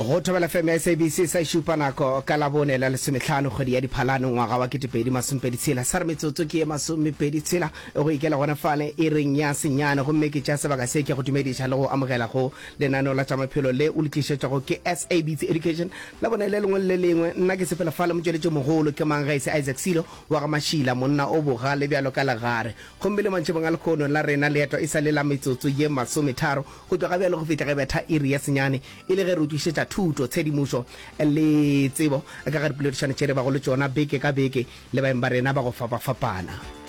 Go Thobela FM ya SABC sa e šupa nako ka Labone la lesomehlano kgwedi ya Diphalane ngwaga wa 2026. Sa re metsotso ke ye masomepedi tshela go ikela gona fale iring ya senyane gomme ke tšea sebaka se ke go dumediša le go amogela go lenaneo la tša maphelo le o le tlišetšwago ke SABC Education Labone le lengwe le le lengwe. Nna ke sepela fale motšweletši mogolo ke mang ge e se Isaac Silo wa ga Mašila monna o bogale bjalo ka legare. Gomme le mantšibong a lehono la rena leeto e sa le la metsotso ye masometharo go tloga bjalo go fihla ge betha iri ya senyane e le ge re o tlišetša thuto, tshedimošo le tsebo ka ga dipoledišano tše re bago le tšona beke ka beke le baeng ba rena ba go fapafapana.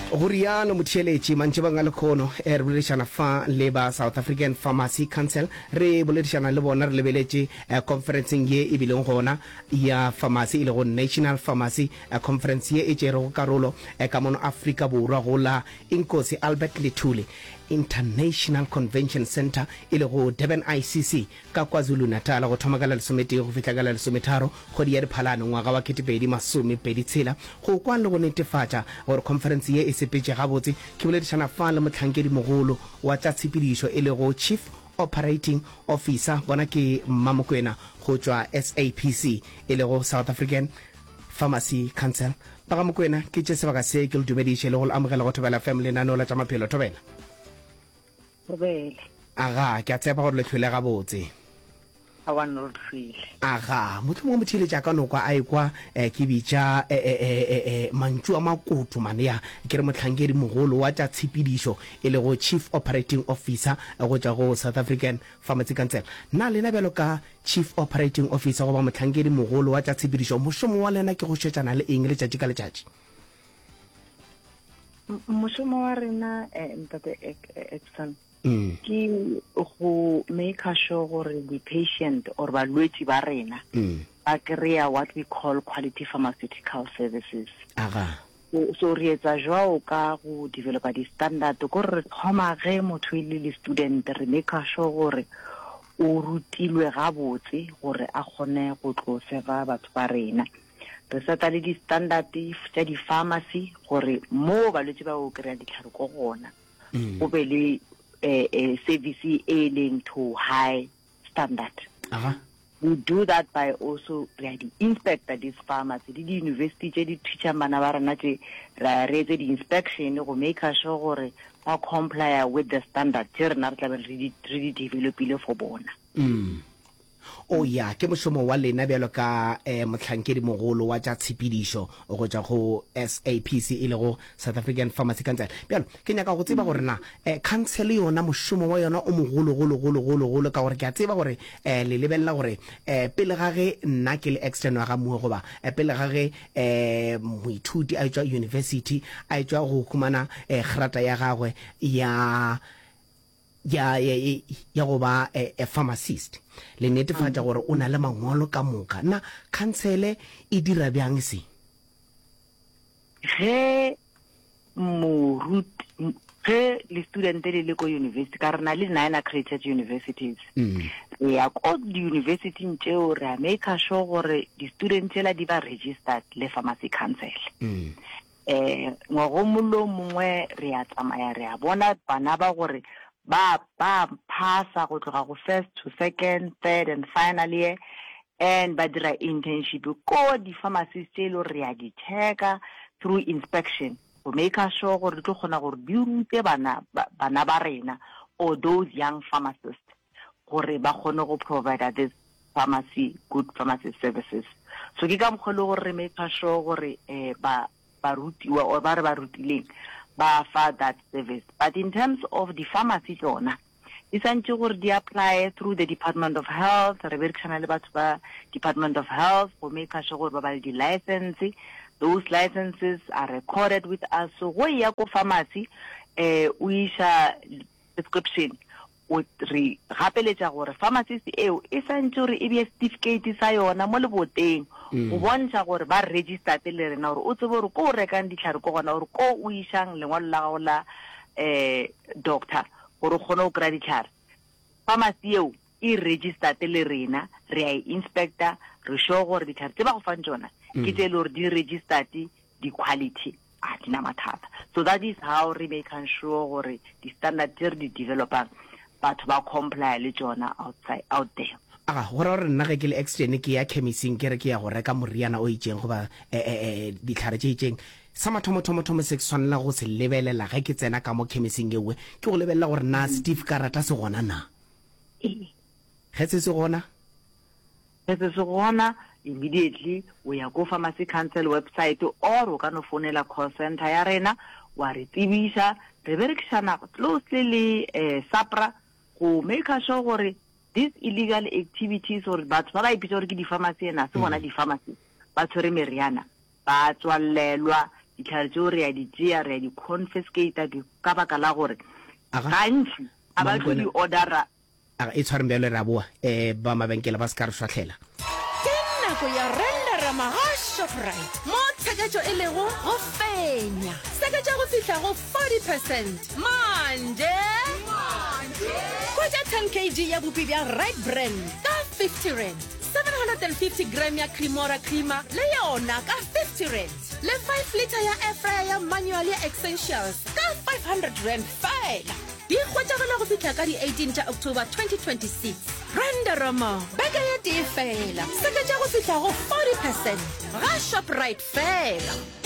Go rialo motheeletši, mantšibong a lekhono re boledišana fa le ba South African Pharmacy Council. Re boledišana le bona re lebeletše konferenseng ye e bileng gona ya pharmacy e lego National Pharmacy Conference ye e tšerego karolo ka mono Afrika Borwa go la Inkosi Albert Lithuli International Convention Centre e lego Durban ICC ka KwaZulu-Natal go thoma ka la lesometee go fihla ka la lesometharo kgwedi ya Diphalane ngwaga wa 2026. Go kwa le go netefatša gore khonferense ye e sepetše gabotse, ke boledišana fa le mohlankedimogolo wa tša tshepedišo e lego Chief Operating Officer, bona ke Mmamokwena go tšwa SAPC e lego South African Pharmacy Council. Ba ga Mokwena, ke tše sebaka se ke le dumediše le go le amogela go Thobela FM lenaneo la tša maphelo. Thobela. Thobela. Aga, ke a tshepa gore le hlwele gabotse. Aowa nna re hlwele. Aga, mohlomongwe motheeletši a ka no kwa a ekwa eh, ke bitša eh, eh, eh, eh, eh, mantšu a makoto mane ya ke re mohlankedi mogolo wa tša tshepedišo e lego Chief Operating Officer go tšwa go South African Pharmacy Council. Na lena bjalo ka Chief Operating Officer goba mohlankedi mogolo wa tša tshepedišo, mošomo wa lena ke go šetšana le eng letšatši ka letšatši? Mošomo wa rena eh, ntate Edson mm. ke go make sure gore di-patient or balwetši ba rena mm. ba kry-a what we call quality pharmaceutical services. Aga. So re etsa jwao ka go developa di-standard ko re thoma ge motho e le le student re make sure gore o rutilwe gabotse gore a kgone go tlo serva batho ba rena. Re seta le di-standard tša di-pharmacy gore mo balwetši ba o kry-a ditlhare ko gona mm. go be le eh, eh, service e leng to high standard. Aha. We do that by also re a di-inspector these pharmacy le di-university tše di teachang bana ba rena tše re a re etse di-inspection go make sure gore ba complya with the standard tše rena re tlabe re di developile for bona. Mm. O ya, ke mošomo wa lena bjalo ka eh, mohlankedimogolo wa tša tshepedišo go tšwa go SAPC e lego South African Pharmacy Council. Bjalo, ke nyaka go tseba gore na eh, council yona mošomo wa yona o mogologologologologolo ka gore ke a tseba gore eh, le lebelela gore eh, pele ga ge nna ke le extern wa ga Moe goba eh, pele ga ge eh, moithuti a etšwa university a etšwa go humana eh, grata ya gagwe ya ya, ya, ya go ba a, a pharmacist, le netefatša gore o na le mangwalo ka moka. Na khansele e dira bjang se? Ge moruti, ge le student le le ko university, ka re na le nine accredited universities, mm. re ya ko di-universityng tšeo re a make sure gore di-student tšela di ba registered le pharmacy council. Mm. Um ngwagong lo mongwe re a tsamaya re a bona bana ba gore ba ba phasa go tloga go first to second, third and final year and ba dira internship ko di-pharmacies tše e le gore re a di checka through inspection go maker sure gore di tlo kgona gore di rute bana bana ba rena or those young pharmacists gore ba kgone go provider this pharmacy good pharmacy services. So ke ka mokgwa e le gore re make sure gore um ba barutiwa or ba re ba rutileng ba fa that service. But in terms of di-pharmacy tsona di santše gore di apply through the Department of Health, re berekisana le batho ba Department of Health go make sure gore ba ba le di-license. Those licenses are recorded with us. So go ya ko pharmacy eh o iša prescription O re gapeletša gore pharmacist eo e santše gore e bee certificate sa yona mo leboteng go bontšha gore ba registered le rena gore o tsebe gore ko o rekang dihlare ko gona gore ko o išang lengwalo la gago la um doctor gore o kgone go kry-a dihlare. Pharmacy eo e registered le rena, re a e inspector, re sure gore dihlare tše ba go fang tšona ke tše e le gore di registered, di quality a di na mathata. So that is how re making sure gore di standard tse re di developang batho ba comply le tšona outside out there. Aga, go ra gore nna ge ke le Exton ke ya khemising ke re ke ya go reka moriana o itšeng goba e, e, e, dihlare tše itšeng, sa mathomothomo-thomo se ke swanela go se lebelela ge ke tsena ka mo khemising yeowe ke go lebelela gore na setifikarata se gona na. Ge se se gona? Ge se se gona, immediately o ya ko Pharmacy Council website or o ka no founela call centre ya rena wa re tsebiša. Re berekišana closely le eh, SAPRA go maker sure gore these illegal activities or batho ba ba ipitsa gore ke di-pharmacy ena se bona di-pharmacy ba tshwere meriana ba tswallelwa ditlhare tseo re ya di tšea re ya di confiscata ka baka la gore gantši a ba tlo di ordera Aga e tshwareng bjalo re a boa um ba mabenkele ba se ka re šwahlela. Ke nako ya Renderama ga Shoprite mo tsheketšo e lego go fenya. Seketša go fihla go 40 percent manje. Hwetša 10 kg ya bupi bja Right Brand ka 50 rand, 750 gram ya Cremora creamer le yona ka 50 rand, le 5 litre ya air fryer ya manual ya Essentials ka 500 rand feela. Di hwetšagala go fihla ka di 18 tša October 2026. Renderama beke ye tee fela, seketša go fihla go 40 percent ga Shoprite fela.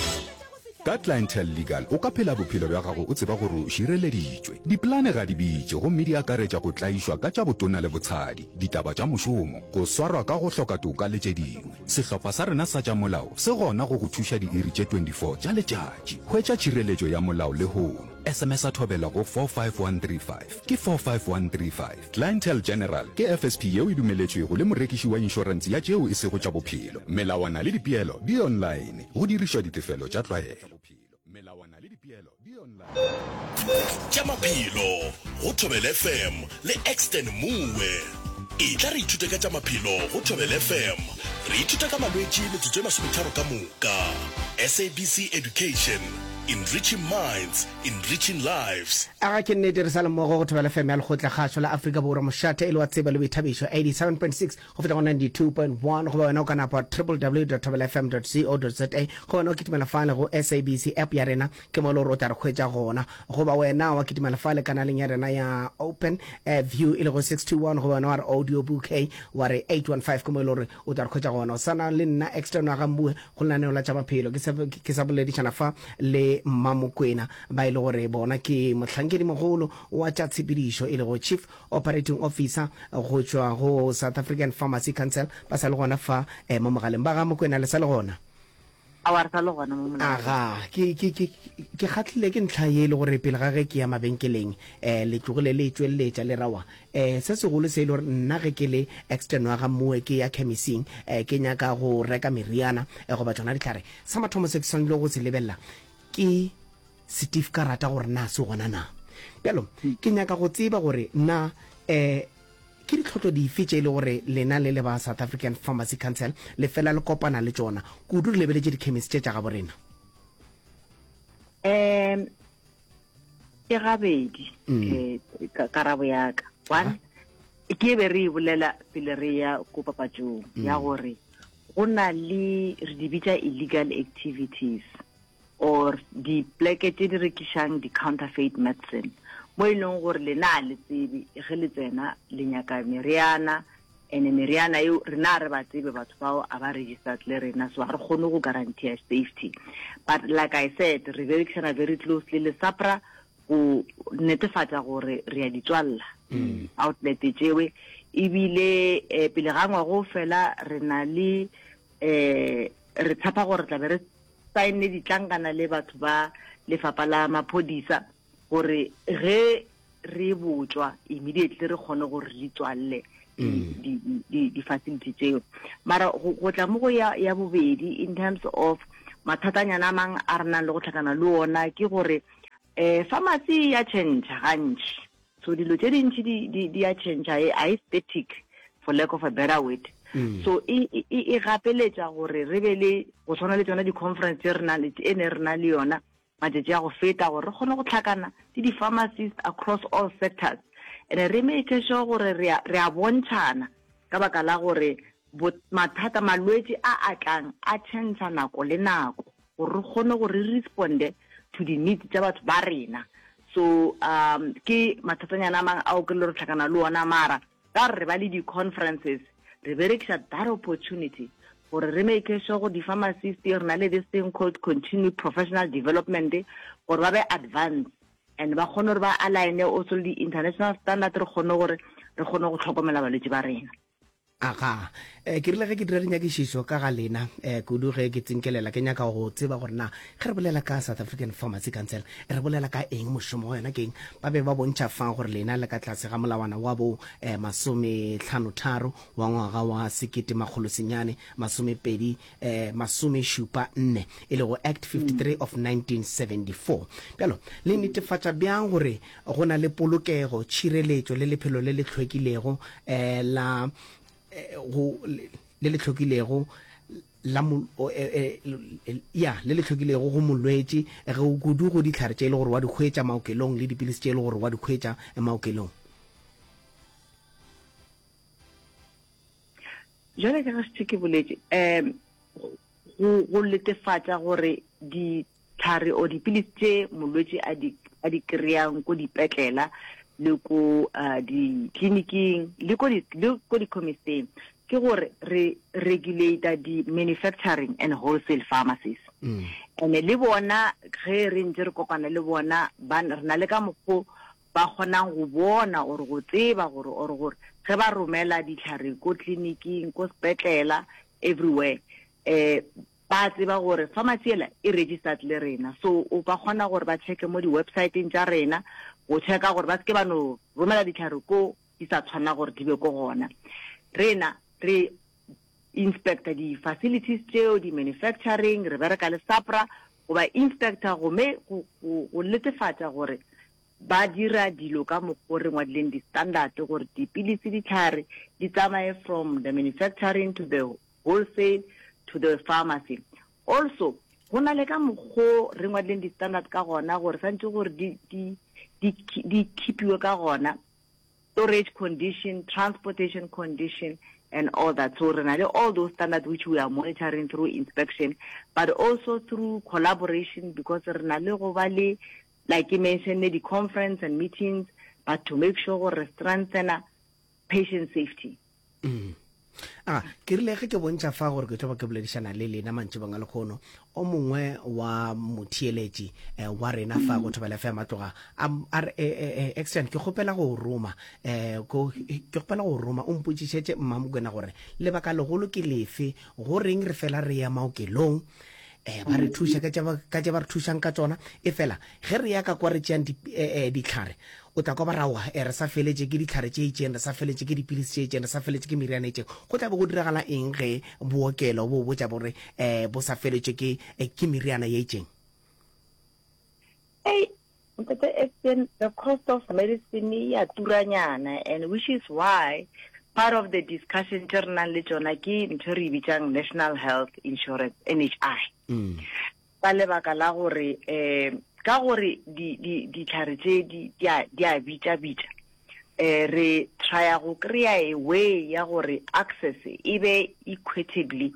Ka Clientele Legal o ka phela bophelo bja gago o tseba gore o šireleditšwe. Dipolane ga di bitše gomme di akaretša go tlaišwa ka tša botona le botshadi, ditaba tša mošomo, go swarwa ka go hloka toka le tše dingwe. Sehlopha sa rena sa tša molao se gona go go thuša diiri tše 24 tša letšatši. Hwetša tšhireletšo ya molao lehono. SMS-a Thobela go 45135. Ke 45135. Clientele General ke FSP yeo e dumeletšwego le morekiši wa inšorense ya tšeo e sego tša bophelo. Melawana le dipeelo di online. Go dirišwa ditefelo tša tlwaelo. Melawana le dipeelo di online. Tša maphelo go Thobela FM le Exton Moe. Etla re ithute ka tša maphelo go Thobela FM. Re ithuta ka malwetši metsotso e masometharo ka moka. SABC Education, enriching minds, enriching lives. Aga ke nnete re sa le mmogo go Thobela FM ya Lekgotla Kgašo la Afrika Borwa mošate e le wa tsebo le boithabišo 87.6 go fihla go 92.1 goba wena o ka napa www.thobelafm.co.za goba wena o kitimela fale go SABC app ya rena ke mo e le gore o tla re hwetša gona goba wena wa kitimela fale kanaleng ya rena ya open eh, view e lego 621 goba wena wa re audio bouquet wa re 815 ke mo e le gore o tla re hwetša gona o sana le nna extern wa gambue go lenaneo la tša maphelo ke sa ke sa boledišana fa le mmamokwena ba e le gore bona ke mohlankedi mogolo wa tša tshepedišo e lego chief operating officer go tšwa go South African Pharmacy Council ba sa le gona fa eh, mo mogaleng ba ga Mokwena le sa le gona Aowa, re sa le gona mo molaleng. Aga, ke, ke, ke, ke kgahlile ke ntlha ye e le gore pele ga ge ke ya mabenkeleng, eh, le tlogile le e tšweleletša le rawa. Eh, se segolo se e le gore nna ge ke le extern wa ga Moe ke ya khemising, eh, ke nyaka go reka meriana, eh, goba tšona dihlare, sa mathomo se ke swanetšego go se lebelela ke setifkarata gore na se gona na. Bjalo, ke nyaka go tseba gore na, eh, Ke ditlhotlo dife tše e le gore lena le le ba South African Pharmacy Council le fela le kopana le tšona, kudu re lebeletše dikhemisi tše tša gabo rena? Um ke gabedi mm. eh, karabo ya ka one ke be re e bolela pele re ya ko papatšong mm. ya gore go na le re di bitša illegal activities or dipleke tše di rekišang di-counterfeit medicine mo e leng gore lena a le tsebe ge le tsena le nyaka meriana ene meriana eo rena re ba tsebe batho bao a ba registered le rena so ga re kgone go guarantee safety but like i said re berekisana very closely le sapra go netefatša gore re ya di tswalela mm. outlet tšewe ebile eh, pele ga ngwago fela re na le eh re tshepa gore tla be re saenne ditlankana le batho ba lefapha la maphodisa gore ge re botšwa immediately re kgone gore re tswalle mm. di-facility tseo mara go tla mo go ya, ya bobedi in terms of mathatanyana a mang a re nang le go tlhakana le ona ke gore um pharmacy ya change gantši So dilo tše dintši di, di, di a change, a e static for lack of a better word. Mm. So e, e, e gapeletša gore re be le go tshwana le tsona di-conference tse re na le e ne re na le yona matšatši a go feta gore re kgone go tlhakana le di-pharmacist across all sectors and re make sure gore re a bontšhana ka baka la gore mathata malwetši a a tlang a change nako le nako gore re kgone gore re responde to the needs tša batho ba rena. So um ke mathatanyana a mang ao ke le re tlhakana le ona mara ka re ba le di-conferences. Re berekiša that opportunity gore re make sure gore di-pharmacist re na le this thing called continued professional development gore ba be advance and ba kgone gore ba align also le di-international standard re kgone gore re kgone go hlokomela balwetši ba rena. Aga. Eh, ke rile ge ke dira dinyakišišo ka ga lena, eh, kudu ge ke tsinkelela, ke nyaka go tseba gore na ge re bolela ka South African Pharmacy Council, re bolela ka eng, mošomo wa yona ke eng. Ba be ba bontšha fa gore lena le ka tlase ga molawana wa bo eh, masometlhanotharo wa ngwaga wa sekete makgolo senyane masomepedi eh, masomešupa nne, e lego Act 53 of 1974. Bjalo, le netefatša bjang gore go na le polokego, tšhireletšo le lephelo le le hlwekilego eh, la eh, go le le hlwekilego la eh, eh, ya le le hlwekilego go molwetši ge kudu go dihlare tše e le gore wa di hwetša maokelong le dipilisi tše e le gore wa di hwetša maokelong? Jwale ka ge šetše ke boletše, um go go letefatša gore ditlhare or dipilisi tše molwetši a di a di kry-ang ko dipetlela le ko uh, ditleliniking le ko le ko di-chemisteng ke gore re regulate di-manufacturing and wholesale pharmacies mm. and le bona ge re ntse re kopana le bona ba re na le ka mokgo ba kgonang go bona or go tseba gore or gore ge ba romela ditlhare ko tleliniking ko sepetlela everywhere eh ba tseba gore pharmacy ela e registered le rena so o ba kgona gore ba checke mo di-websiteng tša rena go checka gore ba seke ba no romela ditlhare ko di sa tshwana gore di be ko gona rena re inspector di-facilities tšeo di-manufacturing re bereka le SAPRA go ba inspector go me go netefatša gore Ba dira dilo ka mokgo re ngwadileng di-standard gore dipilisi, dihlare di tsamaye from the manufacturing to the wholesale to the pharmacy. Also, go na le ka mokgo re ngwadileng di-standard ka gona gore santše gore di, di, di, di keepiwe ka gona, storage condition, transportation condition and all that. So re na le all those standards which we are monitoring through inspection but also through collaboration because re na le go ba le like ke mentionne di-conference and meetings but to make sure gore re strengthena patient safety. Mm. A ke rile ge ke bontšha fa gore ke tlo ba ke boledišana le lena mantšibong a lekgono, o mongwe wa motheeletši eh, wa rena fa go Thobela FM a tloga a a re eh, eh, eh, Exton ke kgopela go roma eh, ko, ke kgopela go roma o mpotšišetše Mmamokwena gore lebaka legolo ke lefe go reng re fela re ya maokelong eh, ba re thuša ka tša ba- ka tše ba re thušang ka tšona e fela ge re ya ka kwa re tšeang di- eh, eh, dihlare o tla kwa ba rawa eh, re sa feletše ke dihlare tše itšeng re sa feletše ke dipilisi tše itšeng re sa feletše ke meriana e itšeng go tla be go diragala eng ge bookelo bo botša bore eh, bo sa feletše ke, eh, ke meriana ye itšeng Ei, Ntate Estienne, the cost of medicine e a turanyana and which is why part of the discussion tše re nang le tšona ke ntho e re e bitsang National Health Insurance, NHI. Mm. Ka lebaka la gore um ka gore ditlhare tše di a bitša bitša eh re trya go kry-a a way ya gore access e be equitably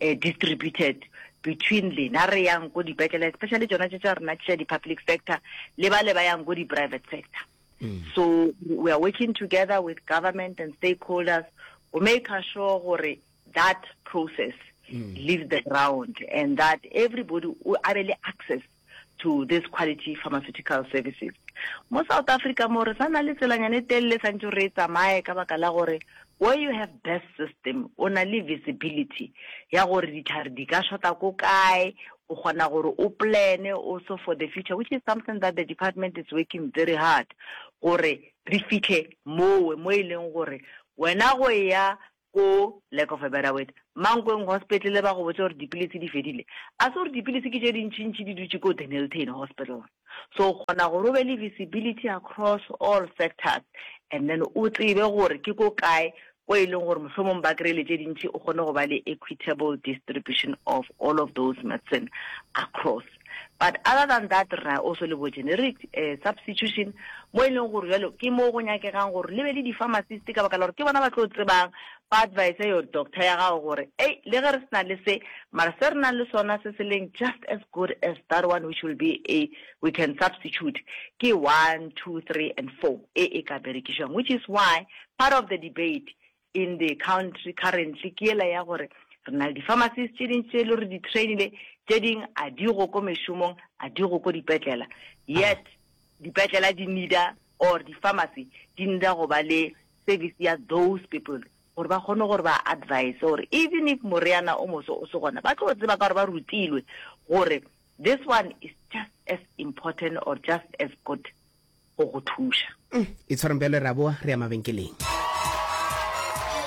eh, distributed between lena re yang ko dipetlele especially tšona tše tša rena tša di-public sector le ba le ba yang ko di-private sector mm. so we are working together with government and stakeholders go make sure gore that process mm. leaves the ground and that everybody a be le access to this quality pharmaceutical services. Mo South Africa mo re sa na le tselanyana e telele santse re e tsamaye ka baka la gore where you have best system o na le visibility ya gore ditlhare di ka shota ko kae o kgona gore o plane also for the future which is something that the department is working very hard gore re fitlhe mowe mo e leng gore wena go ya ko, lack of a better word, Mankweng Hospital ba go botša gore dipilisi di fedile. A se gore dipilisi ke tše dintšintši di dutše ko Dennilton Hospital. So o kgona gore o be le visibility across all sectors and then o tsebe gore ke ko kae ko e leng gore mohlomong ba kry-ile tše dintši o kgone go ba le equitable distribution of all of those medicine across. But other than that re na also le bo generic eh, substitution mo e leng gore jalo ke mo go nyakegang gore le be le di-pharmacist ka baka la gore ke bona ba tlo tsebang ba advise your doctor ya gago gore ei le ge re se na le se mara se re nang le sona se se leng just as good as that one which will be a we can substitute ke 1 2 3 and 4 e e ka berekišwang which is why part of the debate. in the country currently ke yela ya gore re na le di-pharmacies tše dintši tše e le gore di trainile, tše ding a di go ko mešomong, a di go ko dipetlela, yet dipetlela di needa or di-pharmacy di needa go ba le service ya those people gore ba kgone gore ba advise gore even if moriana o moso o se gona, ba tlo tseba ka gore ba rutilwe gore this one is just as important or just as good go go thuša. Itshwareng bjale, re a boa re ya mabenkeleng.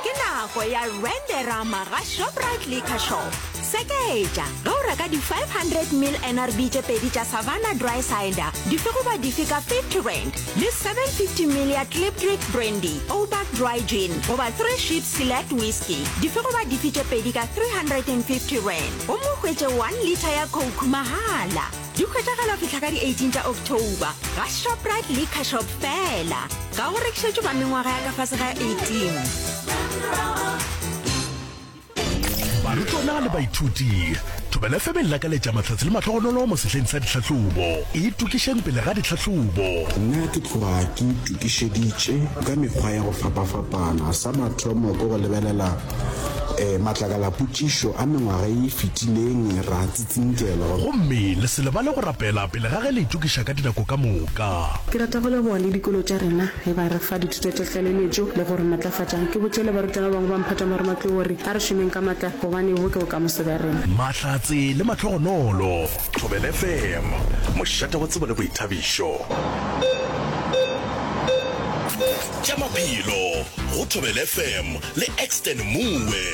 Ke nako ya Renderama ga Shoprite Liquor Shop. Seketša ge o reka di 500 ml NRB tše pedi tša Savanna Dry Cider dife goba dife ka R50 le 750 ml ya Klipdrift Brandy, Ouback Dry Gin goba Three Ships Select Whisky dife goba dife tše pedi ka R350 gomme o hwetše 1 litre ya Coke mahala. Di hwetšagala go fihla ka di 18 tša October ga Shoprite Liquor Shop feela. Ga go rekišetšwe ba mengwaga ya ka fase ga 18. Barutwana le baithuti, Thobela FM e lakaletša mahlatse le mahlogonolo mo sehleng sa ditlhahlobo. Itokišeng pele ga ditlhahlobo. Nna ke tloga ke itokišeditše ka mekgwa ya go fapafapana. Sa mathomo ke go lebelela Matlakala-potšišo a mengwaga ye e fetileng ra tsitsinkelwa. Gomme le se lebale go rapela pele ga ge le itokiša ka dinako ka moka. Ke rata go leboga le dikolo tša rena ge ba re fa dithuto tša tlaleletšo le go re matlafatša. Ke botše le barutwana ba bangwe ba mphato wa marematlou gore a re šomeng ka matla gobane bo ke bokamoso bja rena. Mahlatse le mahlogonolo. Thobela FM, mošate wa tsebo le boithabišo. Tša maphelo go Thobela FM le Exton Moe.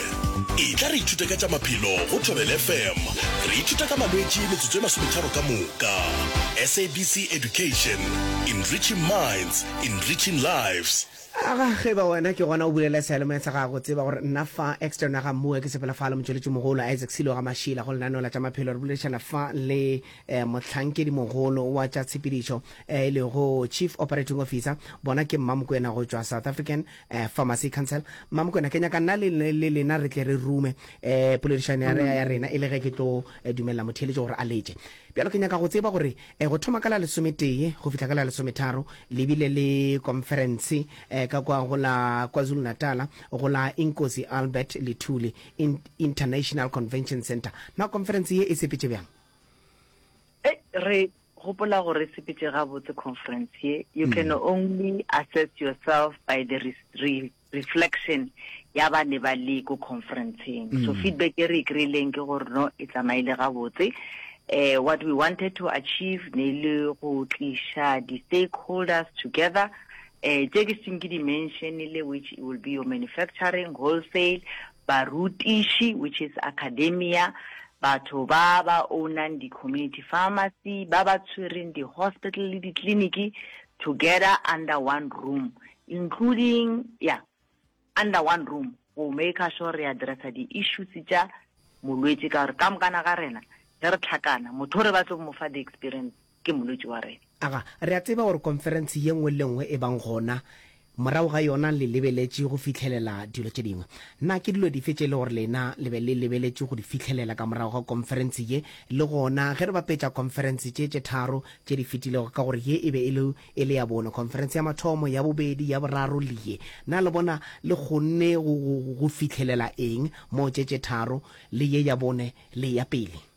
Etla re ithute ka tša maphelo go Thobela FM. Re ithuta ka malwetši metsotso e masometharo ka moka. SABC Education, enriching minds, enriching lives. Aga, ge e ba wena ke gona o bulela seyalemoya sa gago, tseba gore nna fa, Exton wa ga Moe, ke sepela fa le motšweletši mogolo Isaac Silo ga Mašila go lenaneo la tša maphelo. Re boledišana fa le eh, mohlankedi mogolo wa tša tshepedišo eh, e lego Chief Operating Officer, bona ke Mmamokwena go tšwa South African eh, Pharmacy Council. Mmamokwena, ke nyaka nna le, le lena re tle re rume eh, poledišano ya, ya rena e le ge ke tlo eh, dumelela motheeletši gore a letše. Bjalo ke nyaka go tseba gore eh, go thoma ka la lesometee go fihla ka la lesometharo le bile le conference eh, ka kwa go la KwaZulu-Natal go la Inkosi Albert Lithuli In, International Convention Centre. Na conference ye e sepetše bjang? Ei, re gopola gore e sepetše gabotse conference ye. You can only assess yourself by the re, re, reflection ya ba ne ba le ko conferenceng. So feedback e re e kry-ileng ke gore no e tsamaile gabotse. Eh, what we wanted to achieve ne le go tliša di-stakeholders together eh tše ke seng ke di mentionile which will be your manufacturing wholesale barutiši which is academia batho ba ba ownang di-community pharmacy ba ba tshwereng di-hospital le ditleliniki together under one room including yeah under one room go make sure re addressa di-issues tša molwetši ka gore ka mokana ga rena ge re tlhakana motho o re batlo mo fa the experience ke molwetši wa rena. Aga, re a tseba gore konferense ye nngwe le nngwe e bang gona, morago ga yona le lebeletše go fihlelela dilo tše dingwe. Na ke dilo dife tše e le gore lena le be le lebeletše go di fihlelela ka morago ga konferense ye? Le gona, ge re bapetša konferense tše tše tharo tše di fetilego, ka gore ye e be e le, e le ya bone, konferense ya mathomo, ya bobedi, ya boraro le ye, na le bona le kgonne go, go, go fihlelela eng mo tše tše tharo le ye ya bone le ya pele?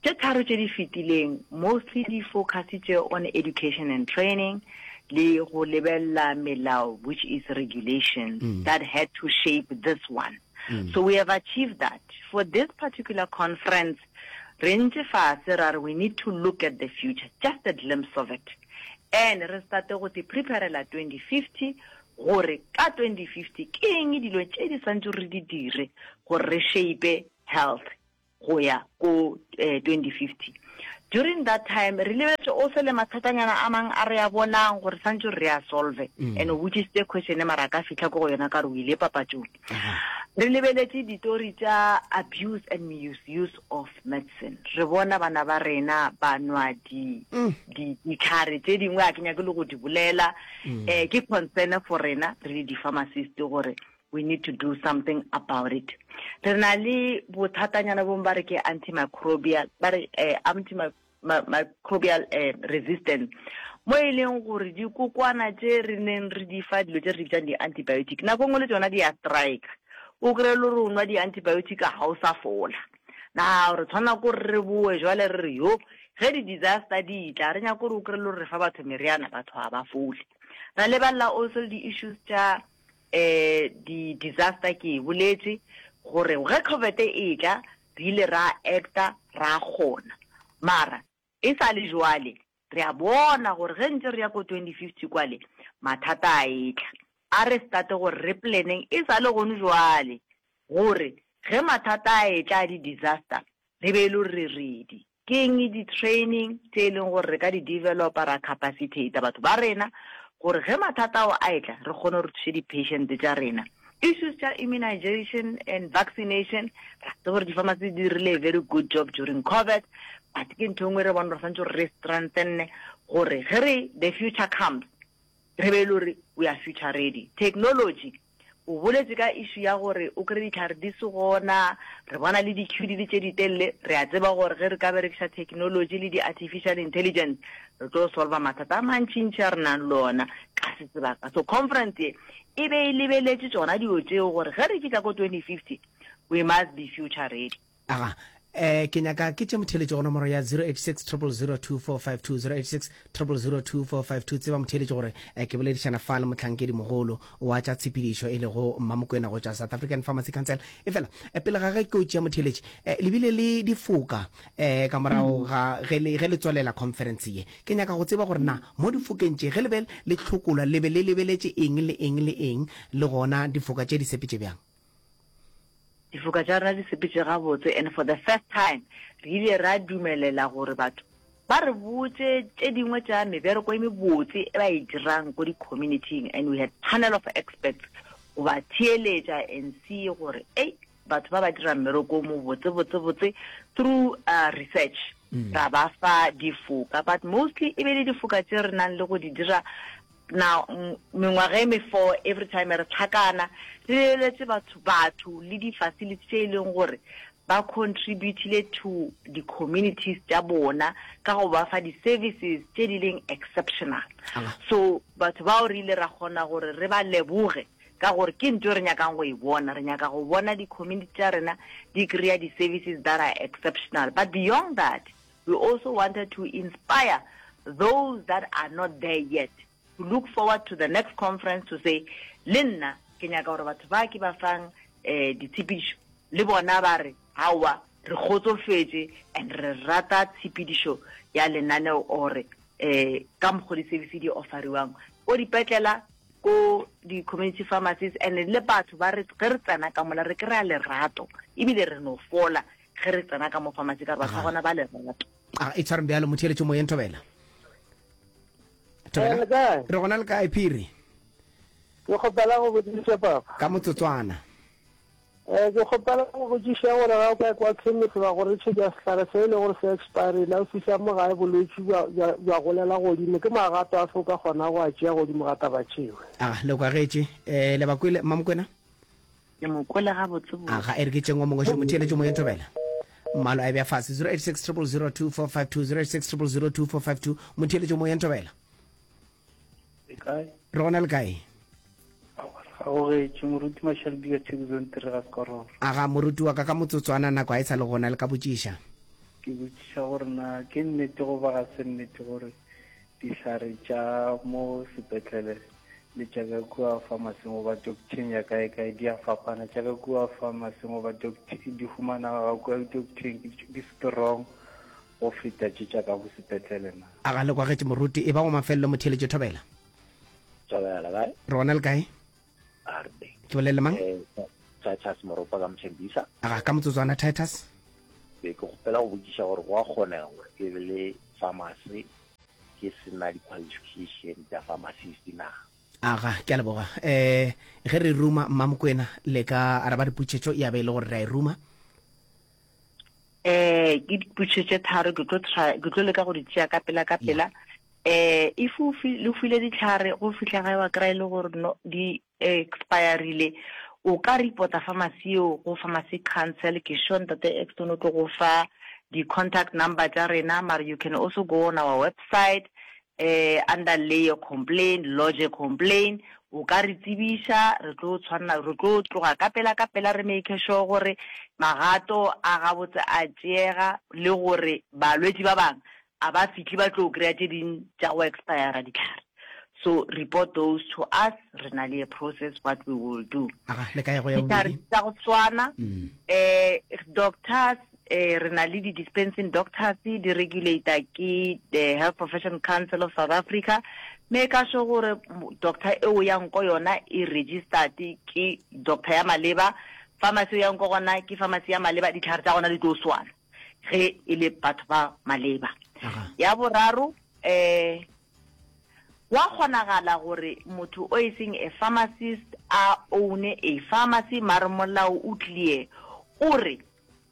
Tše tharo tše di fetileng mostly di focusitše on education and training le go lebelela melao which is regulations mm. that had to shape this one. Mm. So we have achieved that. For this particular conference, re ntše fase ra re we need to look at the future, just a glimpse of it. And re starte go te preparela 2050 gore ka 2050 ke eng dilo tše di swantse re di dire gore re shape health go ya ko 2050. During that time re lebeletse also le mathatanyana a mang a re a bonang gore santse re a solve mm. and o botsisitse question mara ka fitlha ko go yona ka re o ile papatšong. Re lebeletse ditori tša abuse and misuse of medicine. Re bona bana ba rena ba nwa di mm. di ditlhare tše dingwe a ke nyake le go di bolela. Mm. Eh ke concern for rena re le di-pharmacist gore we need to do something about it re na le bothatanyana bong ba re ke antimicrobial ba re eh, antimicrobial eh, resistance. Mo e leng gore dikokwana tše re neng re di fa dilo tše re di bitsang di-antibiotic, nako e nngwe le tšona di a strika. O kry-e le gore o nwa di-antibiotic ga o sa fola. Now re tshwanela ke gore re boe jwale re re yo, ge di-disaster di tla, re nyake gore o kry-e le gore re fa batho meriana, batho ga ba fole. Ra lebelela also le di-issues tša um di-disaster, ke e boletše gore ge Covid e tla re ile ra acta ra kgona, mara e sa le jwale re a bona gore ge ntse re ya ko 2050 kwale mathata a etla. A re starte gore re planeng e sa le gone jwale gore ge mathata a etla a di-disaster re be e le gore re ready. Ke eng di-training tše e leng gore re ka di developa ra capacitator batho ba rena gore ge mathata ao a etla re kgone gore thuše di-patient tša rena. Issues tša immunization and vaccination, ra tseba gore di-pharmacy di dirile a very good job during COVID, but ke ntho e nngwe re bone gore santse gore re strengthene gore ge re the future comes re be e le gore we are future ready. Technology, O boletše ka issue ya gore o kry dihlare di se gona, re bona le di-queue di le tše ditelele, re a tseba gore ge re ka berekiša technology le di-artificial intelligence re tlo solva mathata a mantšintši a re nang le ona ka se sebaka. So conference ye e be e lebeletše tšona dilo tšeo gore ge re fihla ko 2050 we must be future ready. Aga, eh, ke nyaka ke tše motheeletši go nomoro ya 086 000 2452, 086 000 2452. Tseba motheeletši gore eh, ke boledišana fa le mohlankedi mogolo wa tša tshepedišo e lego Mmamokwena go tšwa South African Pharmacy Council. Efela eh, pele ga ge ke o tšea motheeletši, eh, le bile le difoka eh, ka morago ga ge le, ge le tswalela conference ye. Ke nyaka go tseba gore na mo difokeng tše ge le be le hlokolwa le be le lebeletše eng le eng le eng, le gona difoka tše di sepetše bjang? Difoka tša rena di sepetše gabotse and for the first time re ile ra dumelela gore batho ba re botše tše dingwe tša mebereko e mebotse e ba e dirang ko di-community-ing and we had panel of experts go ba theeletša and see gore ei batho ba ba dira mmereko o mobotse botse botse through uh, research mm. ra ba fa difoka but mostly e be le difoka tše re nang le go di dira Na mengwaga e mefo every time re tlhakana re lebeletse batho batho le di facility tše e leng gore ba contributile to di communities tša bona ka go ba fa di services tše di leng exceptional. So batho bao re ile ra kgona gore re ba leboge ka gore ke ntho e re nyakang go e bona. Re nyaka go bona di community tša rena di kry-a di services that are exceptional. But beyond that, We also wanted to inspire those that are not there yet to look forward to the next conference to say, le nna ke nyaka gore batho ba ke ba fang eh, ditshepedišo le bona ba re aowa re kgotsofetše and re rata tshepedišo ya lenaneo ore eh, ka mokgo di-service di offeriwang ko dipetlela ko di-community pharmacies and le batho ba re ge re tsena ka mola re kry-a lerato ebile re no fola Ge re tsena ka mo pharmacy ka re batho ba gona ba lerato. A e tshwareng bjalo motheeletši moyeng Thobela. Thobela. Eh, re gona le kae Phiri? Ke kgopela go botšiša papa. Ka motsotswana. Eh, ke kgopela go botšiša gore ga o ka kwa chemist ba go rekišetša sehlare se e le gore se expirile, o fihla mo gae bolwetši bja golela godimo, ke magato afe o ka kgona go a tšea godimo ga taba tšeo? A le kwagetše. Eh, le ba kwele Mmamokwena? Ke mo kwele gabotsebotse. Aga, e re ke tšeng o mongwe šo motheeletši moyeng Thobela. Mmalo a e bea fase 086 000 2452 086 000 2452 motheeletši moyeng Thobela. Le kae? Re gona le kae? Ga go getše moruti Mashalbi ka Thekuzong Tire ga Sekororo. Aga moruti wa ka ka motsotswana nako ga e sa le gona le ka botšiša. Ke botšiša gore na ke nnete goba ga se nnete gore dihlare tša mo sepetlele le tša ka kua pharmacy-ing goba doctor-eng ya kae kae di a fapana. Tša ka kua pharmacy-ing goba di humanega ka kua doctor-eng di strong go feta tše tša ka go sepetlele na? A ga le kwagetše moruti? E ba wa mafelelo motheeletši Thobela. Thobela kae? Re gona le kae? A re teng. Ke bolele mang? Eh, Titus Moropa ka Mthembisa. A ga ka motsotswana Titus? Be ke kgopela go botšiša gore go a kgonega gore ke be le pharmacy ke se na di-qualification tša pharmacist na? Aga, ke a leboga. Eh, ge re ruma Mmamokwena, le ka araba dipotšišo ya be e le gore re a e ruma? Eh, ke dipotšišo tše tharo, ke tlo try, ke tlo leka go di tšea ka pela ka pela. Eh, if o fi, le file ditlhare go fihla gae wa kry-a e le gore no di expirile, o ka reporta pharmacy eo go pharmacy council. Ke sure ntate Exton o tlo go fa di-contact number tša rena, mara you can also go on our website. eh under lay a complaint, lodge a complaint, o ka re tsebiša, re tlo tshwanela, re tlo tloga ka pela ka pela re make sure gore magato a gabotse a tšeega le gore balwetši ba bangwe a ba fihle ba tlo kry-a tše ding tša go expire dihlare. So report those to us, re na le a process what we will do. Aga, le ka ya go ya Dihlare bobedi? tša go swana, eh doctors eh re na le di-dispensing doctors di regulator ke the Health Profession Council of South Africa, make sure gore doctor e o yang ko yona e registered ke doctor ya maleba, pharmacy o yang ko gona ke pharmacy ya maleba, dihlare tša gona di tlo swana ge e le batho ba maleba. Ya boraro eh Gwa kgonagala gore motho o e seng a pharmacist a own-e a pharmacy mare molao o clear o re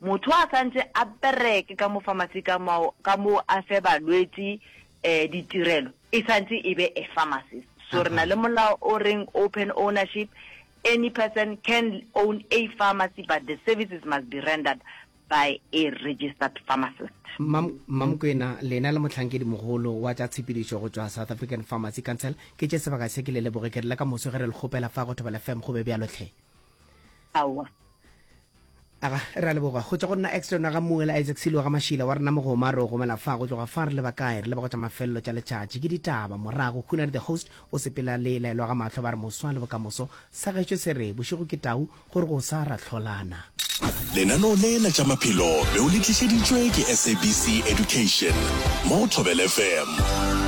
motho a santse a bereke ka mo pharmacy ka mo ka mo a fe balwetši eh ditirelo e santse e be a pharmacist. So re na le molao o reng open ownership any person can own a pharmacy but the services must be rendered by a registered pharmacist. Mmamokwena, lena le mohlankedi-mogolo wa tša tshepedišo go tšwa South African Pharmacy Council, ke tše sebaka se ke le leboge, ke re le ka moso ge re le kgopela fa go Thobela FM go be bjalo hle. Aowa. Aga, re a leboga. Go tšwa go nna Exton wa ga Mmuela Isaac Silo wa ga Mašila wa rena Mogoma re o gomela fa go tloga fa re leba kae re leba go tša mafelelo tša letšatši ke ditaba morago Khunadi the host o sepela le laelwa ga mahlo ba re moswa le bokamoso sa gešo se re bošego ke tau Gore go sa ra hlolana. Lenaneo le la tša maphelo be o le tlišeditšwe ke SABC Education mo go Thobela FM.